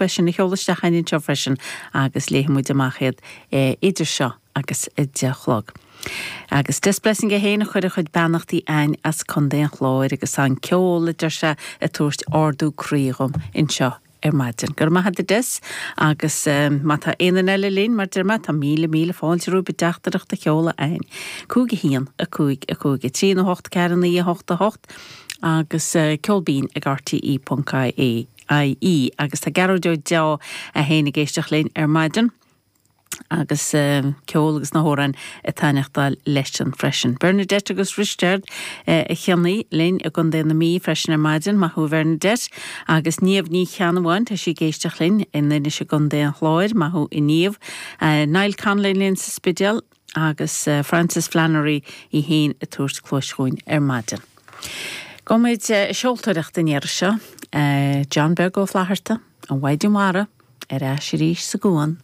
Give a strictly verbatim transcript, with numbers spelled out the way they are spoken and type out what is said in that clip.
é sin a sheoladh isteach chugainn anseo freisin agus léifidh muid amach iad idir seo agus a deich a chlog. Agus Des Blessing é féin a chuir a chuid beannachtaí chugainn as Contae an Chláir agus an ceol a deir sé ag tabhairt ardú croí dhom anseo ar maidin. Gur maith a Des agus um, má tá aon eile linn mar deir mé tá míle míle fáilte romhaibh teachtaireacht a sheoladh chugainn. Cúig a haon a cúig a cúig a trí nó hocht ceathair naoi a hocht a hocht agus uh, ceolbinn ag RTE.ie IE agus tá Gearóid Ó Deá a théann ag éisteacht linn ar maidin. agus uh, ceol agus na hamhráin ag taitneachtáil leisean freisin. Bernadette agus Risteard uh, a cheannaí linn i gContae na Mí freisin ar maidin maith thú Bernadette agus Niamh Ní Cheannabháin tá sí ag éisteacht linn in Inis i gContae an Chláir maith thú a Niamh. Uh, Niall Conley linn sa Spidéal agus uh, Francis Flannery í féin ag tabhairt cluas dhúinn ar maidin. Gabhfaimid uh, seoltóireacht an iarraidh seo, uh, John Beag Ó Flatharta, an Mhaighdean Mhara, ar ais arís sa gcuan